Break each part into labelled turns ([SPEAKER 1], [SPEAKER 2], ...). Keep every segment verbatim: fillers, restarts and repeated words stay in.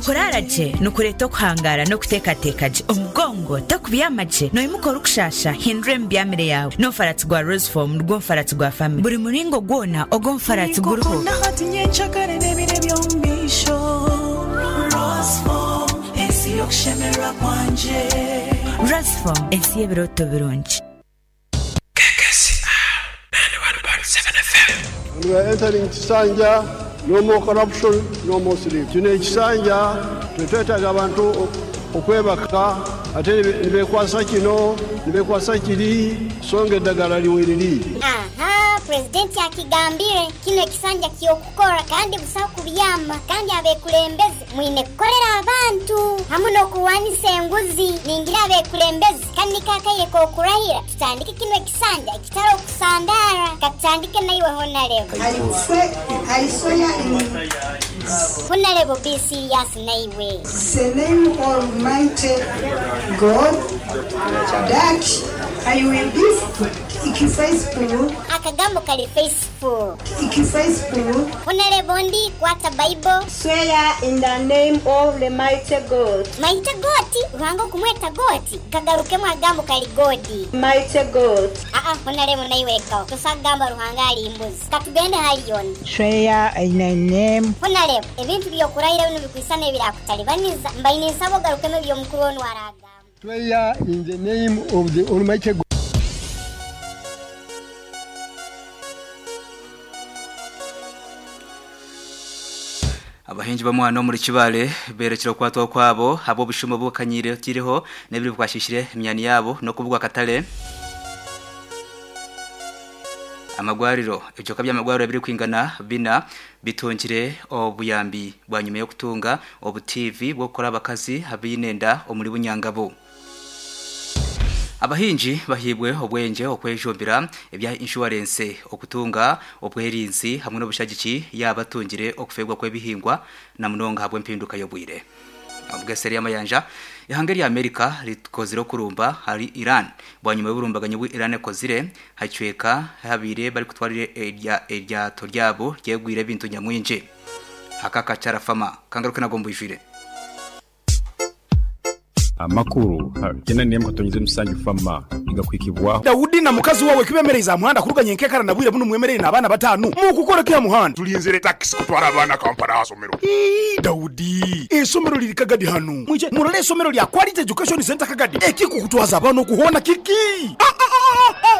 [SPEAKER 1] Okurara gye nikureeta okuhangara n'okuteekateeka gye. Omugongo tokubyama gye noimuka orikushasha hindura emibyamire yaawe n'omufaratsi gwa Roseform nigwo mufaratsi gwa family. Buri muringo gwona ogw'omufaratsi guriho.
[SPEAKER 2] Ninkukunda hati nyencakare n'ebiro eby'omu maisho. Roseform, ensi y'okushemererwa kwangye.
[SPEAKER 1] Roseform, ensi y'ebirooto birungi.
[SPEAKER 3] And we are entering Kisanja, no more corruption, no more sleep. Kino ekisanja tetwetaaga abantu okwebaka ate nibekwasa kino nibekwasa kiri songa eddagala liweriri.
[SPEAKER 4] Aha, pulezidenti akigambire kino ekisanja ky'okukora kandi busaho kubyama kandi abekulembeze mwine kukorera abantu hamu n'okurwanisa enguzi. Ningira abekulembeze kandi kakaire k'okurahira tutandike kino ekisanja ekitari okusandara katutandike naiwe honarebo.
[SPEAKER 5] I swear, I swear in
[SPEAKER 4] Honarebo be serious naiwe.
[SPEAKER 5] the name of Almighty God that I will be faithful,
[SPEAKER 4] Akagambo kali faithful.
[SPEAKER 5] faithful
[SPEAKER 4] Honarebo ndi kwata Bible.
[SPEAKER 6] Swear in the name of the mighty God,
[SPEAKER 4] Maite goti ruhanga okumweta goti kagarukemu agambo kali godi.
[SPEAKER 6] mighty God.
[SPEAKER 4] Aa honarebo naiwe lekawo tosagamba ruhanga ali mbuzi katugende haliyoni.
[SPEAKER 7] Swear in the name
[SPEAKER 4] Honarebo ebintu byokurahira bino bikwisana ebirakutalibaniza mbaine nsaba ogarukemu ebyomukuru onu aragamba.
[SPEAKER 3] Swear in the name of the Almighty God.
[SPEAKER 8] Abahinji bamwana muri Kibale berekera kwatwa kwabo abo bushumo bukanyire kiriho nebiri bwashishire imyani yabo no kubugwa katale amagwariro ibyoka by'amagwariro biri kwingana bina bitongire obuyambi bwa nyuma yo kutunga obu T V bwo gukora abakazi abinenda omuri bunyangabo. Abahinji bahibwe obwenje okwejombera ebya insurance okutunga obwerinzi hamwe n'obushagiki yabatungire okufegwa kwebihingwa na munonga habwe mpinduka yobwire. Obweseri y'amayanja ihanga rya Amerika rikozire kurumba hari Iran bwanyuma y'uburumbaganyo bw'i Iran ekozire hacweka habire bari kutwarire erya eryato ryabo ryegwire bintu nyamwinje hakaka carafama kangaruke nagombujire.
[SPEAKER 9] Amakuru kena niye mukatonyeze musanju fama igakwikibwaho.
[SPEAKER 10] Daudi na mukazi wawe kibemereza muhanda kuruganye nkekara na bwire buno mwemerere n'abana batanu mukukora kya muhanda.
[SPEAKER 11] Tulinzire taxi kutwara abana Kampala hasomero.
[SPEAKER 10] Ii, Daudi, isomero liri Kagadi hanu mwije murole isomero lya Quality Education Center Kagadi ekikukutwaza abana okuhona kiki.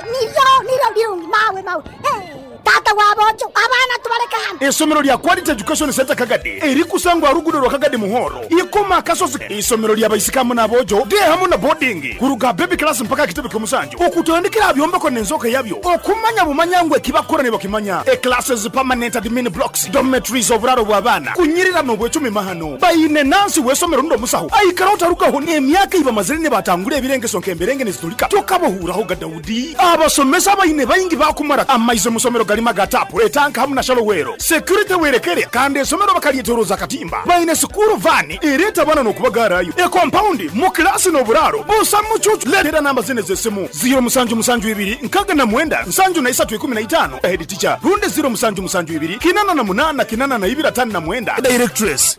[SPEAKER 12] Nivyo nivyo birungi mawe mawe. Eh, tata wabojo abana tubaleka hano.
[SPEAKER 10] Isomero lya Quality Education Center Kagadi erikusangwa rugudo rwa Kagadi muhoro ikoma akasozi. Isomero lya baisikamu n'abojo de hamwe na boarding kuruga baby class mpaka kitebe ky'omusanju okutandikira byombeko n'enzoka yabyo okumanya bumanya ekibakora ne bakimanya e classes, permanent admin blocks, dormitories, oburaro bw'abaana kunyirira n'obwecumi mahano bayine nansi w'esomero ndo musaho aikara otarugaho n'emyaka ibamazire ne batangura ebirengeso nk'emberenge nezitulika tokabohuraho ga Daudi. Abasomesa bayine bayingi bakumara amaize musomero galima gatapu etanka hamwe na shalowero security werekere kandi esomero bakalyetoroza katimba bayine school van ereta bana n'okubagarayo e compound mu klasi n'oburaro busa mucucu. Letera namba zine z'esimu zero musanju musanju ibiri nkaga na mwenda nsanju na isatu ikumi na itano head teacher runde zero musanju musanju ibiri kinana na munana kinana na ibiri atanu na mwenda directress.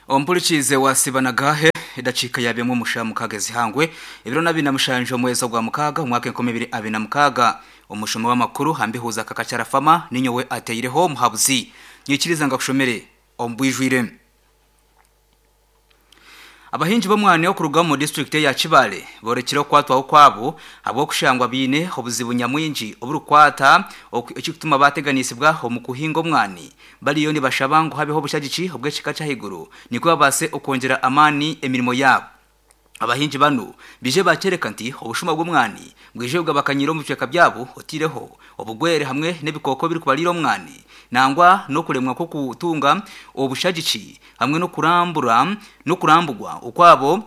[SPEAKER 8] Ompulikize wasibanagahe idacika yabyemo musha mukagezi hangwe ibiro nabi na mushanje mweza gwa mukaga umwaka enkumi ibiri abiri na mukaga umushomo w'amakuru hambihuza kakacara fama ninyowe ateireho muhabuzi nyikiriza ngakushomere ombwijwire. Abahinji b'omwana yo kuruga mu district ya Kibale borekire kwatwaho kwabo abo kushangwa bine obuzibu nyamwinji oburukwata ekikutuma bateganisibwa omu kuhinga omwani baliyo ni bashabangu habeho bushagici obwekika cyahiguru niko babase okongera amani emirimo yabo. Abahinji bano bije bakereka nti obushuma bw'omwani bwije bwabakanyira mu biceka byabo otireho obugwere hamwe n'ebikoko biri kubalira omwani nangwa no kulemwa ko kutunga obushagici hamwe no kurambura no kurambugwa ukwabo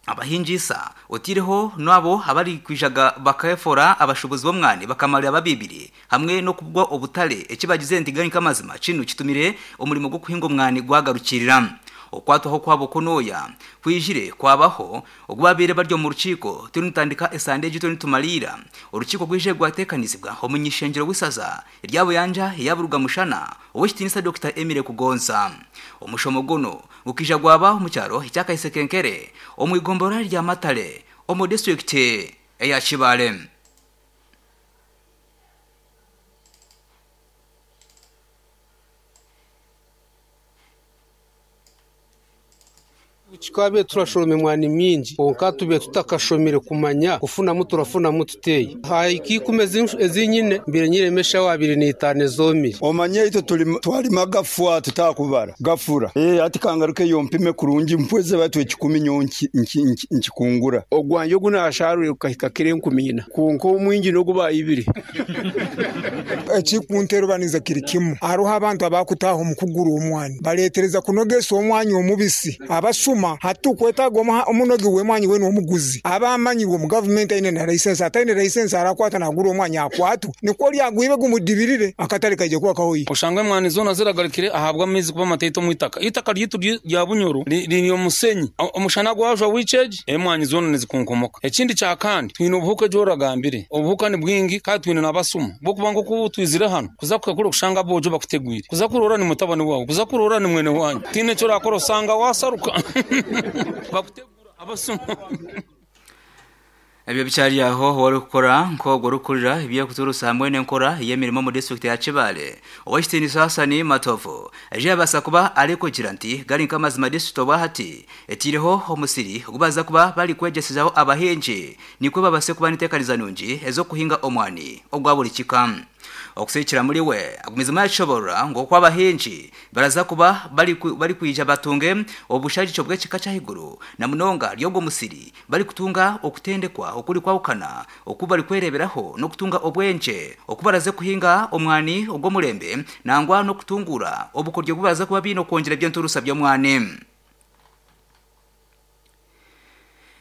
[SPEAKER 8] abahinjisa otireho nabo abari kwijaga bakayefora abashubuzi bomwani bakamarira babibiri hamwe no kubwa obutale ekibagize ntigani kamazima kinu kitumire omurimo gwo kuhinga omwani gwagarukirira. Okwatwaho kwabo kunoya kwijire kwabaho ogwabire baryo mu rukiko tunitandika esande gito nitumalira Urukiko gwije gwatekanizibwa omunyishengero w'isaza iryabo yanja yaburuga mushana owekitinisa Doctor Emile Kugonza. Omushomo guno ukija gwabaho mu cyaro icyakayisekenkere omwigombora rya Matale omu district eya Kibale.
[SPEAKER 13] Chikabe turashome mwani mingi konka tube tutakashomire kumanya kufunamu turafunamu tuteye haiki kumeze ezinyine mbere nyiremesha wabiri nitane zomire
[SPEAKER 14] omanye ito tuli twalima gafwa tutakubara gafura eh ati kangaruke yompime kurungi mpweze batu ekikumi nyonki nkikungura
[SPEAKER 13] ogwanje gunasharuye ukahika kire nkumina konko omwingi no guba ibiri
[SPEAKER 15] ekikunterubaniza kiri kimu aruha abantu abakutaho mukuguru omwani baletereza kunogesa omwani omubisi abasuma hatukwetaga omunogi wemwanyi wenu omuguzi abamanyirwe mu government aine na license ataine license arakwata nagura omwanya akwatu niko lyagwibe gumudibirire akatale kaje kuba kahoyi
[SPEAKER 16] oshangwe mwani zona ziragarikire ahabwa amezi kuba mateito mwitaka itaka ryitu rya Bunyoro riri omusenyi omushana gwajwa wicheji emwanyi zona nizikunkomoka. Ekindi kya kandi twine obuhuka joragambire obuhuka ni bwingi kandi twine nabasuma bokuba ngo kubutwizire hano kuza kukakura kushanga bojo bakutegwire kuza kurora ni mutabani wawe kuza kurora ni mwene wanyu tine cyo rakora usanga wasaruka bakutegura abasuma.
[SPEAKER 8] Ebyo bicyari aho wari gukora nko rukurira ibyo kuturusa hamwe n'enkora yemirimo mu district ya Kibale Owestini Sasani Matovu eje yabasa kuba ariko gira nti gari nk'amazima district obahati etireho omusiri gubaza kuba bari kwegesezaho abahinji nikwe babase kuba nitekaniza nungi ezo kuhinga omwani ogwa buri kika. Okusikira muri we agumizima yashobora ngo kwa abahinji baraza kuba bari bari kwija batunge obushaji cyo bwekika cyahiguru na munonga ryogo musiri bari kutunga okutendekwa okuri kwawukana okuba bari kwereberaho no kutunga obwenje okubaraze kuhinga omwani ogwo murembe nangwa no kutungura obukoryo bubaza kuba bino kongera byenturusa byo mwane.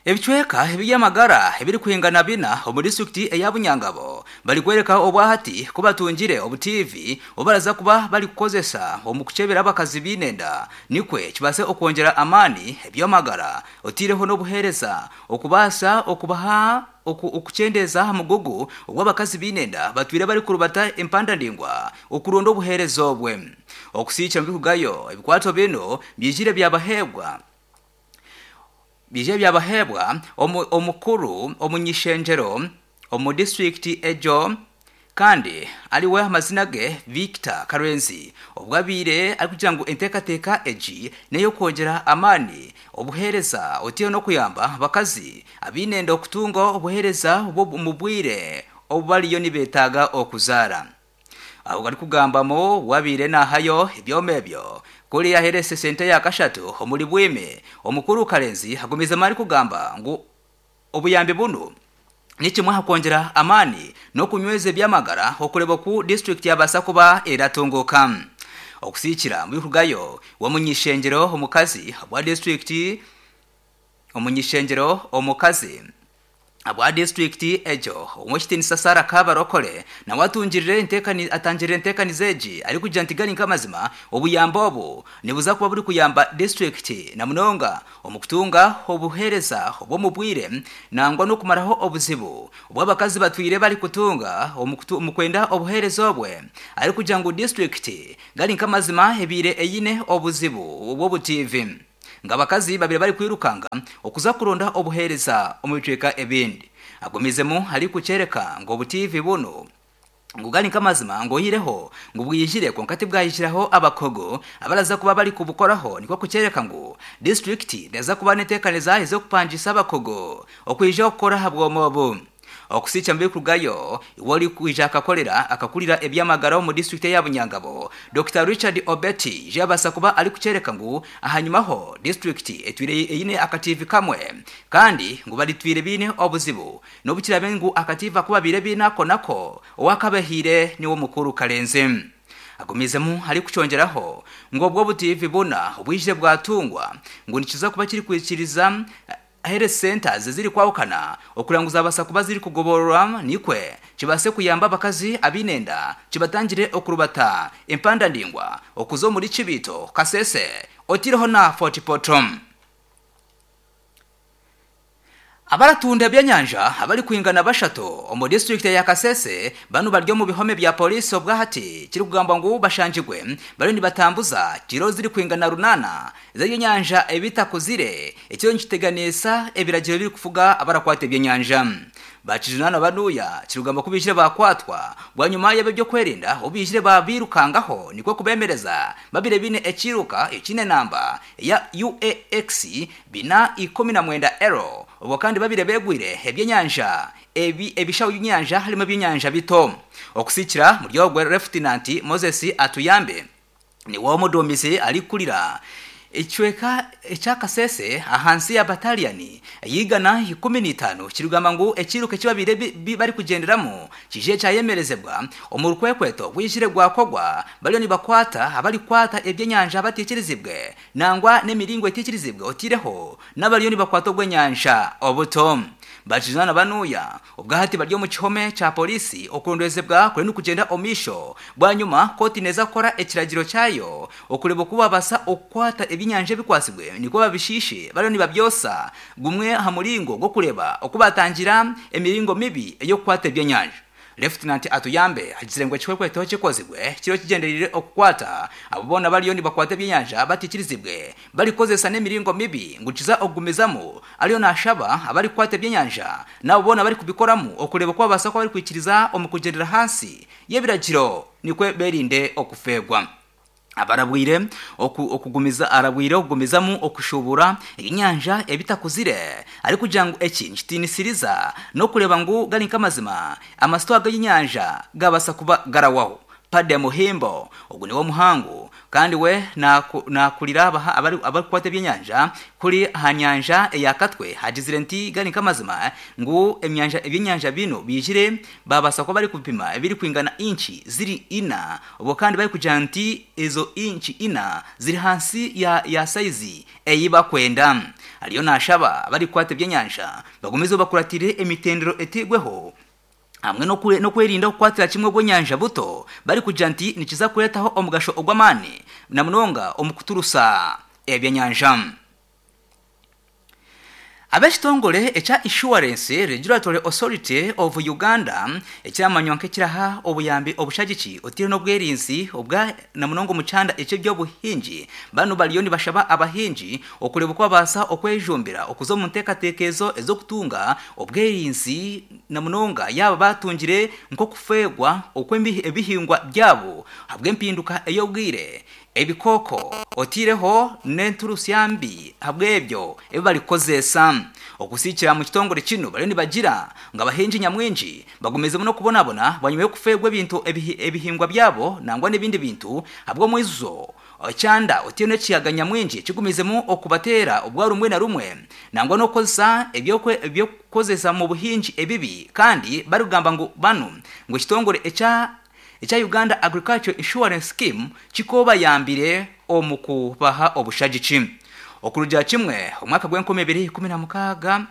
[SPEAKER 8] Ebichweka ebyamagara ebiri kuhingana bina omu district eya Bunyangabo bali kwereka obwahati kubatungire obu T V obaraza kuba bali kukozesa omu kuchebera abakazi binenda nikwe kibase okwongera amani ebyamagara otireho n'obuhereza okubasa okubaha okuchendeza hamugugu ogw'abakazi binenda batwire bali kurubata empanda ndingwa okuronda obuhereza obwe. Okusicha mbikugayo ebikwato bino byijire byabahebwa bije byabahebwa omukuru omunyishenjero omu district ejo kandi aliwe amazina ge Victor Karenzi obwabire ari kugira ngo entekateka eji neyo kongera amani obuhereza otiyo no kuyamba bakazi abinenda okutunga obuhereza mu bwire obubaliyo nibetaga okuzara. Aho gari kugambamo wabire nahayo ebyomebyo kuri yaherese sente ya kashatu omuri bwime omukuru Karenzi agumiza mari kugamba ngo obuyambe buno nikimwe hakongera amani no kunyweza ebyamagara okureba ku district yabasa kuba eratunguka. Okusikira mu bikugayo wamunyishengero omukazi wa district omunyishengero omukazi abwa district ejo omwishitini Sasara Kabarokole na watungirire entekani atangirire entekani zeji ari kugira nti gari nkamazima obuyambo obu nibuza kuba buri kuyamba district na munonga omukutunga obuhereza obwo mubwire nangwa no kumaraho obuzibu obwabakazi batwire bari kutunga omukwenda obuhereza obwe ari kugira ngo district gari nkamazima ebire eyine obuzibu obwo bu T V ngabakazi babire bari kwirukanga okuza kuronda obuhereza omubicweka ebindi. Agumizemu hari kucereka ngo bu T V buno ngugani nkamazima ngo hireho ngo bwijire ko nkati bwayishiraho abakogo abaraza kuba bari kubukoraho niko kucereka ngo district ndaza kuba netekaneza izo kupangisa abakogo okwija okukora habwomobo. Okusicha mbi kugayo wali kuija akakolera akakulira ebyamagara mu district ya Bunyangabo Doctor Richard Obeti jabasa kuba ari kucereka ngu ahanyumaho district etwire eyine akativi kamwe kandi ngu bali twire bine obuzibu nobukirabe ngu akativa kuba bire binako nako owakabehire niwo mukuru Karenze. Agumizemu hari kucongeraho ngo obwo butivi buna obwije bwatungwa ngo nikiza kuba kiri kwikiriza health centers ziri kwawukana okuranguza abasa kuba ziri kugoborora nikwe kibase kuyamba abakazi abinenda kibatangire okurubata empanda ndingwa okuzo muri Kibito Kasese otireho na Fort Potom. Abaratunda byanyanja abali kuingana bashato omu district ya Kasese banu baryo mu bihome bya polisi obwahati kiri kugamba ngo bashanjigwe bari ni batambuza kiro ziri kuingana runana zeyo nyanja ebitakuzire ekyo nkiteganisa ebiragiro biri kufuga abarakwate byanyanja bakijunana banuya kirugamba kubishire bakwatwa bwanyuma yabe byo kwerinda obishire babirukangaho niko kubemereza babire bine ekiruka ekine namba ya U A X bina ikumi na mwenda ero ubwo kandi babire begwire ebyenyanja ebi ebishawo by'nyanja harimo by'nyanja bito okusikira muri ogwe Lieutenant Moses Atuyambe ni wo mudomisi ari kulira Echweka echakasese ahansi ya bataliani yigana ikumi n'itano kirugamba ngo ekiruka kibabire bari kugenderamo kije cyayemerezebwa omurkwekweto gwishire gwakogwa bariyo nibakwata abari kwata ebyenyanja batikirizibwe nangwa n'emiringo etikirizibwe otireho nabariyo nibakwata ogwenyanja obuto bajizana banuya ubwahati baryo mu kihome cha polisi okurondezebwa kuri nukugenda omisho bwanyuma koti neza kora ekiragiro cyayo okureba kuba basa okwata ebinyanje bikwasibwe niko babishishe bariyo nibabyosa gumwe ha muringo go kureba okubatangira emiringo mibi eyo kwata ebyenyanja. Lieutenant Atuyambe agizirengwe chikwekweto kikozibwe kiro kigenderire okukwata abo bona bariyo nibakwata ebyenyanja batikirizibwe barikozesa n'emiringo mibi ngukiza ogumizamo ariyo nashaba abari kwata ebyenyanja nabo bona bari kubikoramu okureba kwa basa ko bari kwikiriza omukugendera hasi yebiragiro nikwe berinde okufegwa. Abarabwire okugumiza arabwire okugumizamu okushubura inyanja ebitakuzire ari kugira ngo eki nkitinisiriza no kureba ngo gari nkamazima amasitwa g'inyanja gabasa kuba garawaho. Pade Muhimbo ogu niwo muhangu kandi we nakulira abaha abari abakwate ebyenyanja kuri hanyanja eyakatwe hagizire nti gari nkamazima ngu emyanja ebyenyanja bino bijire babasa ko bari kupima ebiri kwingana inchi ziri ina ubwo kandi bari kugira nti ezo inchi ina ziri hansi ya ya size eyiba kwenda ariyo nashaba bari kwate ebyenyanja bagumizo bakuratire emitendero etigweho hamwe no kure no kwerinda kukwatira kimwe gwenyanja buto bari kugira nti nikiza kuretaho omugasho ogwamani na munonga omukuturusa ebyenyanja. Abeshitongole echa Insurance Regulatory Authority of Uganda ekyamanywa nk'ekiraha obuyambi obushagiki otire n'obwerinzi obwa na munongo mucanda ekyo by'obuhingi bano baliyo nibashaba abahingi okureba uko babasa okwejumbira okuzo mu nteekateekezo ez'okutunga obwerinzi na munonga yaba batungire nko kufegwa okw'ebihingwa byabo habw'empinduka ey'obwire ebikoko otireho n'enturusyambi habwebyo ebyo balikozesa okusikira mu kitongole kino bali nibagira nga abahingi nyamwingi bagumeze no kubonabona banyuma yo kufegwa ebintu ebihingwa byabo nangwa n'ibindi bintu habwo mwizo cyanda otire n'ekiyaga nyamwingi kigumizemo okubatera ubwa rumwe na rumwe nangwa no kozesa ebyo ebyo kozesa mu buhingi ebibi kandi barugamba ngo bano ngo kitongole echa echa Uganda Agriculture Insurance Scheme kikoba yambire omukubaha obushagichi okuruja kimwe omwaka gw'enkumi ibiri ikumi na mukaga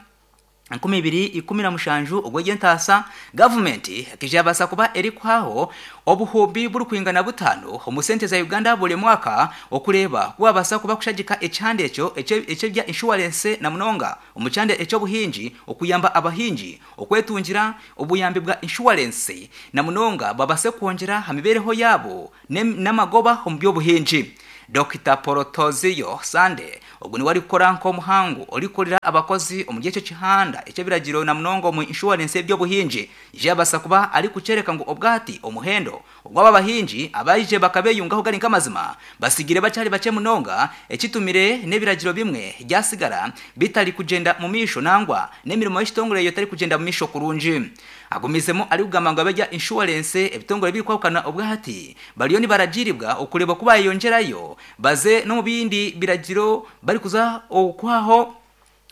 [SPEAKER 8] enkumi ibiri ikumi na mushanju ogw'entasa government kijabasa kuba eri kwaho obuhumbi buri kwingana butano omu sente za Uganda buli mwaka okureba kubabasa kuba kushagika ekyande ekyo ekyo bya insurance na munonga omukyande ekyo buhingi okuyamba abahingi okwetungira obuyambi bwa insurance na munonga babase kwongera hamibereho yabo n'amagoba omu by'obuhingi. Doctor Porotozio Sande ogu ni wari kukora nko muhangu orikorera abakozi omu gihe kihanda ekyebiragiro na munongo mu insurance by'obuhingi jabasa kuba ari kucereka ngo obwati omuhendo ogwaba bahingi abayije bakabeyungaho gari nkamazima basigire bacari bace munonga ekitumire n'ebiragiro bimwe ryasigara bitari kugenda mu misho nangwa n'emirimo y'itongore yo tari kugenda mu misho kurungi agumizemo ari kugamba ngo abajya insurance ebitongore biri kwakana obwati bariyo ni baragiribwa okureba kuba yongerayo baze no mu bindi biragiro bari kuza okwaho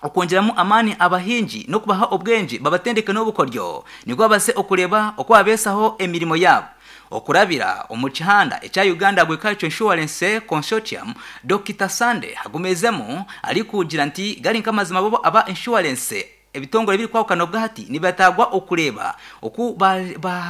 [SPEAKER 8] okongeramo amani abahingi no kubaha obwenji babatendeke n'obukoryo niko base okureba okwabesaho emirimo yabo. Okurabira omu kihanda ekya Uganda Agriculture Insurance Consortium, Doctor Sande agumezemu ari kugira nti gari nkamazima bobo aba insurance ebitongole biri kwawukana bwati nibatagwa okureba oku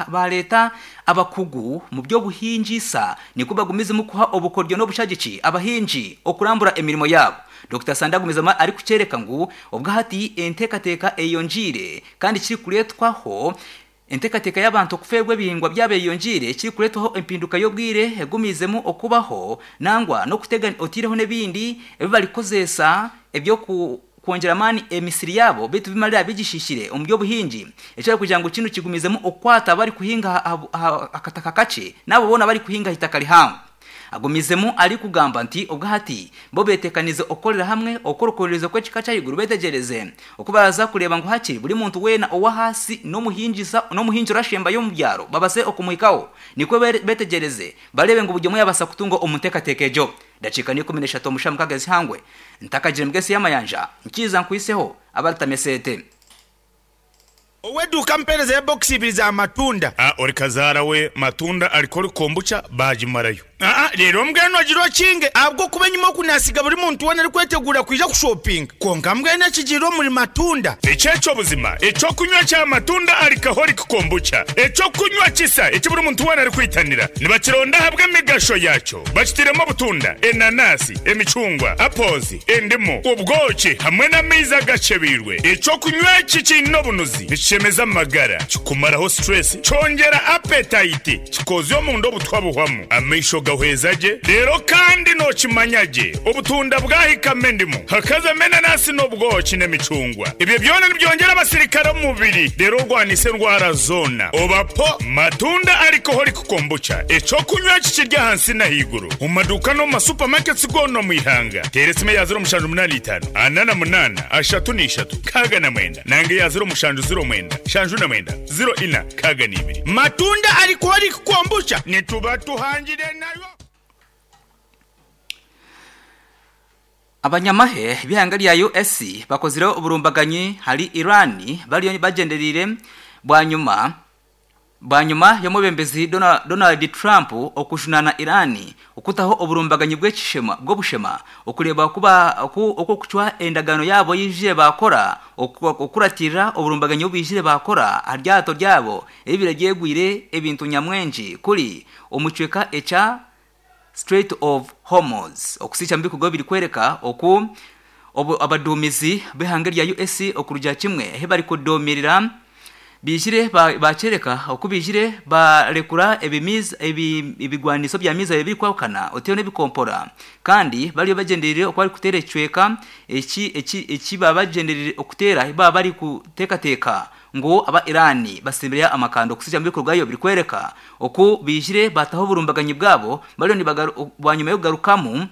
[SPEAKER 8] baleta ba, ba abakugu mu byo buhingisa niko bagumize mu kuha obukoryo n'obushagiki abahinji okurambura emirimo yabo. Doctor Sande agumizama ari kucereka ngu obwahati entekateka eyonjire kandi kiri kuretwaho entekateka y'abantu kufegwe bihingwa byabeyonjire kiri kuretwaho empinduka y'obwire egumizemu okubaho nangwa no kutega otireho nebindi ebi kozesa ebyo ku kuongera mani emisiri yabo bitu bimalira bigishishire omubyo buhinji ekyo kugira ngo kino kigumizemu okwata bari kuhinga akataka kace nabo bona bari kuhinga hitakali hamwe. Agumizemu ari kugamba nti obwahati bo betekanize okorera hamwe okorokorereza kwekika cyayiguru betegereze okubaraza kureba ngo hakiri buri muntu wena owa hasi no muhinjisa no muhinjira shemba yo mubyaro babase okumuhikaho niko betegereze barebe ngo bujye muyabasa kutunga omutekateke Dakika ni kumi n'eshatu omushamu kagezi hangwe ntakagire mugesi y'amayanja nkiza nkwiseho abartamesete
[SPEAKER 17] Oweduka mpereza ya box ibiri za matunda.
[SPEAKER 10] Ah, ori kazara we matunda alikori kombucha bajimarayo.
[SPEAKER 17] Ah, rero mbweno agiro kinge abwo kubenyuma kunasiga buri muntu wena ari kwetegura kwija kushopping. Konka mbwene kigiro muri matunda.
[SPEAKER 10] Echecho buzima, echo kunywa cha matunda alcoholic kombucha. Echo kunywa kisa, echo buri muntu wena ari kwitanira. Nibakironda habwe migasho yacho. Bakitiremo butunda, enanasi, emicungwa, apples, endimu, ubwoki hamwe n'amaizi agacebirwe. Echo kunywa kikino bunuzi. Nichemeza magara, kikumaraho stress, chongera appetite, kikozyo mu ndo butwabuhwamu. Amaisho gahwezaje rero kandi no kimanyaje obutunda bwahikame ndimu hakaza menanasi n'obwoki n'emicungwa ibyo byona nibyongera abasirikare mu mubiri rero rwanise ndwara zona obapo matunda alcoholic kombucha eco kunywa kikirya hansi na higuru mu maduka no mu supermarkets gono mu ihanga teresime ya zero mushanju munani itanu anana munana ashatu n'ishatu kaga na mwenda nange ya zero mushanju zero mwenda shanju na mwenda zero ina kaga n'ibiri
[SPEAKER 17] matunda alcoholic kombucha nituba tuhangire nayo.
[SPEAKER 8] Abanyamahe bihanga lya U S bakozire oburumbaganyi hari Irani bali bagenderire bwanyuma bwanyuma yomubembezi Donald, Donald Trump okushunana Irani okutaho oburumbaganyi bw'ekishema bwo bushema okureba kuba okwo kuchwa endagano yabo yije bakora okuratira oburumbaganyi obijire bakora haryato ryabo ebire gyegwire ebintu nyamwenji kuri omucweka echa Strait of Hormuz okusicha mbikugo biri kwereka oku abadumizi behanga lya U S okuruja kimwe he bari kudomirira bijire bacereka ba okubijire barekura ebimiz ebigwaniso bya miza ebiri kwakana oteyo nebikompora kandi bali bagenderere okwali kutera ecweka eki eki eki babagenderere okutera ba bari kuteka teka ngo aba Irani basimbiria amakando kusija mbikorwayo biri kwereka oku bijire bataho burumbaganyi bwabo bali ni bwanyuma yo garukamu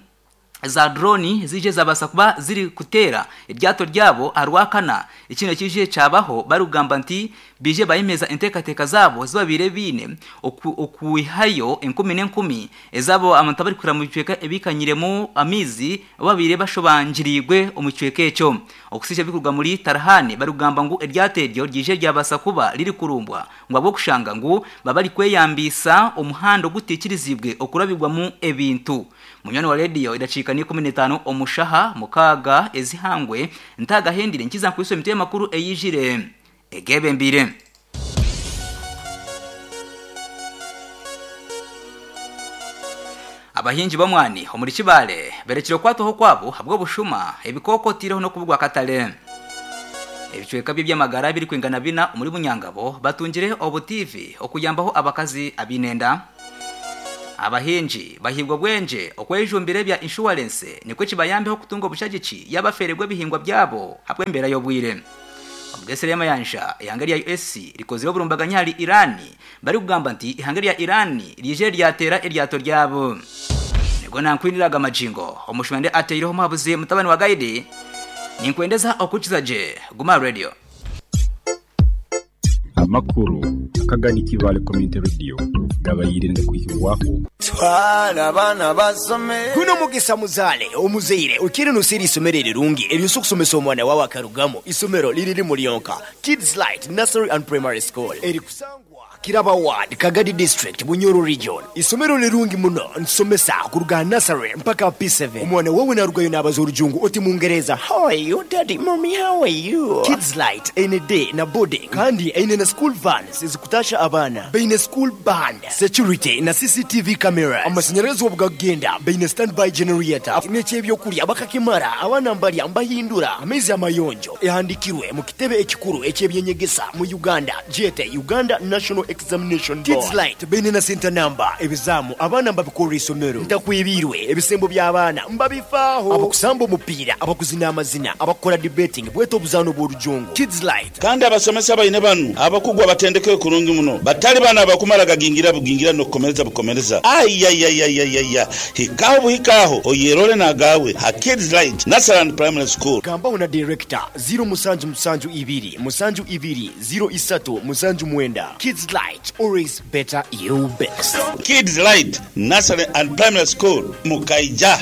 [SPEAKER 8] za droni zije zabasa kuba ziri kutera iryato ryabo arwakana ikino kije cabaho barugamba nti bije bayimeza entekateka zabo zibabire bine okuihayo enkumi n'enkumi ezabo abantu bari kura mu cweka ebikanyiremo amizi babire bashobanjirigwe omucweka eco okusije bikurwa muri Tarhani barugamba ngo iryato ryo ryije ryabasa kuba riri kurumbwa ngo abo kushanga ngo babari kweyambisa umuhando gutikirizibwe okurabirwa mu ebintu. Munyoni wa radio idacika ni kumi n'itanu omushaha mukaga ezihangwe ntagahendire nkiza nkwiso emitwe makuru eyijire egebe mbire. Abahinji bamwani omuri Kibale berekire kwatoho kwabo habwo bushuma ebikoko tireho no kubugwa katale. Ebicweka by'amagara biri kwingana bina omuri Bunyangabo batungire obutivi okuyambaho abakazi abinenda. Abahinji bahibwa bwenje okwejumbire bya insurance nikwe kibayambeho kutunga obushagici yabaferegwe bihingwa byabo habwembera yobwire. Omugesere y'amayanja ihanga lya U S rikozire oburumbaganya hari Irani bari kugamba nti ihanga lya Irani rije ryatera eryato ryabo. Nego nankwiniraga amajingo omushwende ateireho mabuzi mutabani wa guide ninkwendeza okukiza je Guma Radio.
[SPEAKER 9] Amakuru akagani Kibale Community Radio gabayirinde kuhirwaho
[SPEAKER 18] twala bana basome
[SPEAKER 19] kuno mugisa muzale omuzeire ukiri nusiri isomero rirungi eryo kusomesa omwana wawe akarugamo isomero liriri mulionka Kids Light Nursery and Primary School eri kusangwa Kiraba Ward, Kagadi District, Bunyoro Region. Isomero lirungi muno nsomesa kuruga nursery mpaka P seven. Omwana wawe narugayo n'abaza orujungu oti Mungereza. How are you daddy, mommy, how are you? Kids Light eine day na boarding kandi eine na school vans ezikutasha abaana. Baine school band, security na C C T V cameras. Amashanyarazi obugagenda baine standby generator. N'ekyebyokurya bakakimara abaana mbalya mbahindura. Amaizi amayonjo ehandikirwe mu kitebe ekikuru eky'ebyenyegesa mu Uganda, J T Uganda National Examination Board. Kids Light baine na center number ebizamu abaana mbabikora isomero. Ntakwibirwe ebisembo by'abaana mbabifaaho. Abakusamba omupiira, abakuzina amazina, abakora debating bweta obuzaano bw'orujungu. Kids Light.
[SPEAKER 20] Kandi abasomesa baine banu abakugwa batendeke kurungi muno batali bana abakumara gagingira bugingira nokukomereza bukomereza. Ayayayayaya, hikaho buhikaho oyerole nagawe ha Kids Light Nursery and Primary School.
[SPEAKER 19] Gambaho na director zero musanju musanju ibiri musanju ibiri zero isatu musanju mwenda. Kids Light, always better you best.
[SPEAKER 20] Kids Light Nursery and Primary School Mukaija.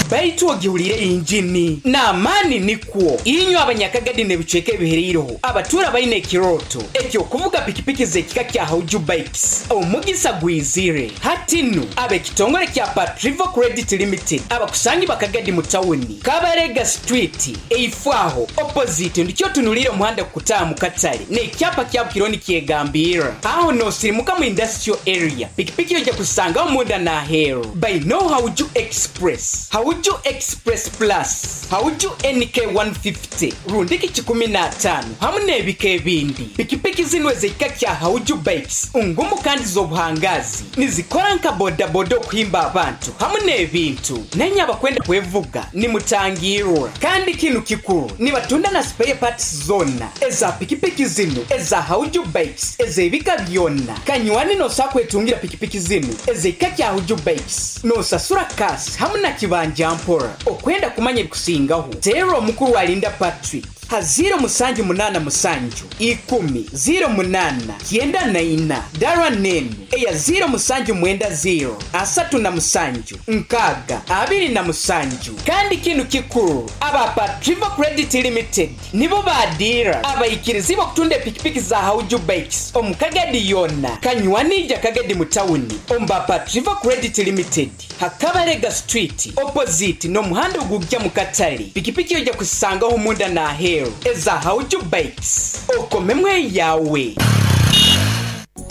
[SPEAKER 21] Baitu ogihulire injini n'amaani nikwo inywe abanyakagadi n'ebicweka ebihereireho abatura baine ekiroto ekyokuvuga pikipiki z'ekika kya Hauju Bikes omugisa gwizire hatinu ab'ekitongole kya Patrivo Credit Limited abakusangi bakagadi mu tawuni Kabarega Street eifwaho opposite ndikyo tunulire omuhanda kukutaaha mu katale n'ekyapa kya Bukironi kyegambira aho nosirimuka mu industrial area pikipiki ojja kusangaho munda n'aheeru by no Hauju Express Hauju Express Plus, Hauju N K one fifty, rundiki kikumi na tano, hamwe n'ebika ebindi. Pikipiki zino ez'ekika kya Hauju Bikes, ngumu kandi z'obuhangazi, nizikora nka bodaboda okuhimba abantu, hamwe n'ebintu. Nenye abakwenda kwevuga, nimutangirwa. Kandi kinu kikuru, nibatunda na spare parts zona, eza pikipiki zino, eza Hauju Bikes, ez'ebika byonna. Kanywani nosakwetungira pikipiki zino, ez'ekika kya Hauju Bikes, nosasura kasi, hamwe na kibanja mpora. Okwenda kumanya ebikusingaho teera omukuru alinda Patrick ha zero musanju munana musanju ikumi zero munana kyenda na ina dara nenu eya zero musanju mwenda zero asatu na musanju nkaga abiri na musanju. Kandi kinu kikuru aba Patrivo Credit Limited nibo badira abaikirizi bakutunda pikipiki za Hauju Bikes omukagadi yona kanywanija kagadi mutawuni omba Patrivo Credit Limited Hakabarega Street opposite no muhanda ogujja mu katale pikipiki ojja kusangaho munda na heru eza Hauju Bikes okomemwe yawe.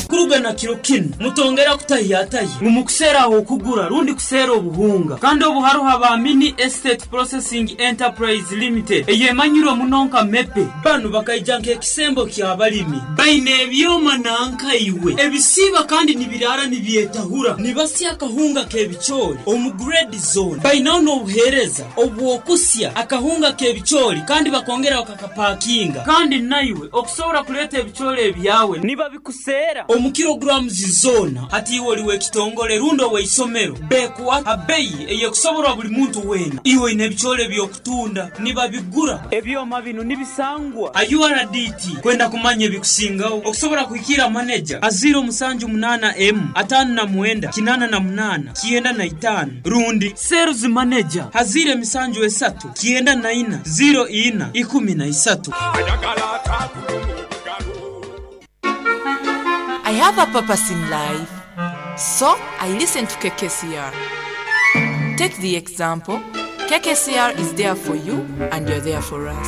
[SPEAKER 22] Kuruga na kiro kinu mutongera kutahiyatayi mumukusera aho kugura rundi kusera obuhunga kandi obuharuha ba Mini Estate Processing Enterprise Limited eyemanyirwe munonka mepe banu bakaija nk'ekisembo ky'abalimi baine ebyoma nankaiwe ebisiba kandi nibirara nibyetahura nibasya akahunga k'ebicoori omu grade zone bainaho n'obuheereza obwokusya akahunga k'ebicoori kandi bakongera bakakapakinga kandi naiwe okusobora kuleeta ebicoori ebyawe nibabikusera omu kilograms zona hati iwe oliwe ekitongole rundo weisomero bekuwa abeyi eyekusoborwa buli muntu wena iwe ine ebicoori byokutunda nibabigura ebyoma bino nibisangwa a U R D T kwenda kumanya ebikusingaho okusobora kuhikira manager a zero musanju munana M atano na mwenda kinana na munana kienda na itano rundi sales manager hazire misanju esatu kienda na ina zero ina ikumi na isatu.
[SPEAKER 23] I have a purpose in life, so I listen to K K C R. Take the example, K K C R is there for you and you're there for us.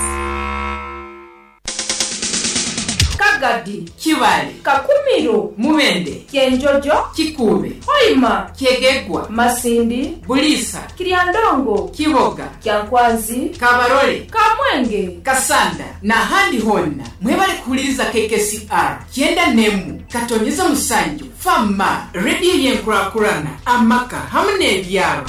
[SPEAKER 24] Kagadi, Kiwale, Kakumiro, Mubende, Kyenjojo, Kikube, Hoima, Kyegegwa, Masindi, Bulisa, Kiryandongo, Kiboga, Kyankwanzi,
[SPEAKER 21] Kabarole,
[SPEAKER 24] Kamwenge,
[SPEAKER 21] Kasanda na handi honna. Mwebale kuhuliriza K K C R kyenda nemu katonyeza musanju fama radio yenkurakurana amaka hamwe n'ebyaro.